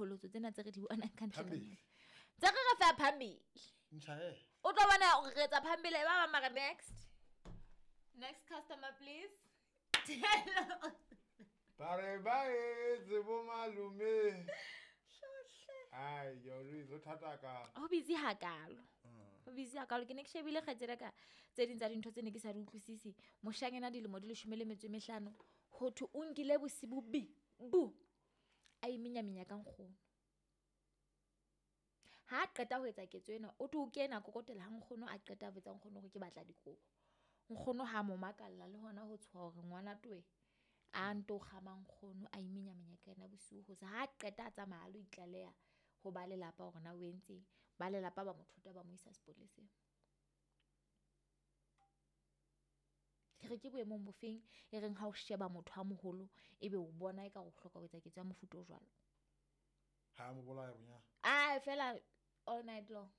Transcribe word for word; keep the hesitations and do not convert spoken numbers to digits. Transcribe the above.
Diqholotso tsena tse re di bonang ka ntle ka Phambili. mona. Tse re re fa phambili. Nchae. O tlo bona hore re etsa phambili ba bang mara next. Next customer please. Ba re ba etse bo malome. Ai, yori zo thata ka. Ho busy hakalo. Ho busy hakalo ke ne ke shebile kgaitsedi ka tse ding tsa dintho tse ne ke sa di utlwisisi. Moshanyana dilemo di leshome le metso e mehlano ho thwe o nkile bosibu bi bu a iminyaminya ka nkgono. Ha a qeta ho etsa ketso ena o thwe o kena kokotela ha nkgono a qeta a botsa nkgono hore ke batla dikobo. Nkgono ha mo makalla le hona ho tshoha hore ngwana towe a nto kgama nkgono a iminyaminya ka yena bosiu ho sa. Ha qeta a tsamaya a lo itlaleha ho ba lelapa hore na o entseng. Ba lelapa ba mo thota ba mo isa sepoleseng. Ke re ke boemong bofeng e reng ha o sheba motho a moholo ebe o bona eka o hloka ho etsa ketso ya mofuta o jwalo. Ha mo bolaya bonya. Ah fela all night long.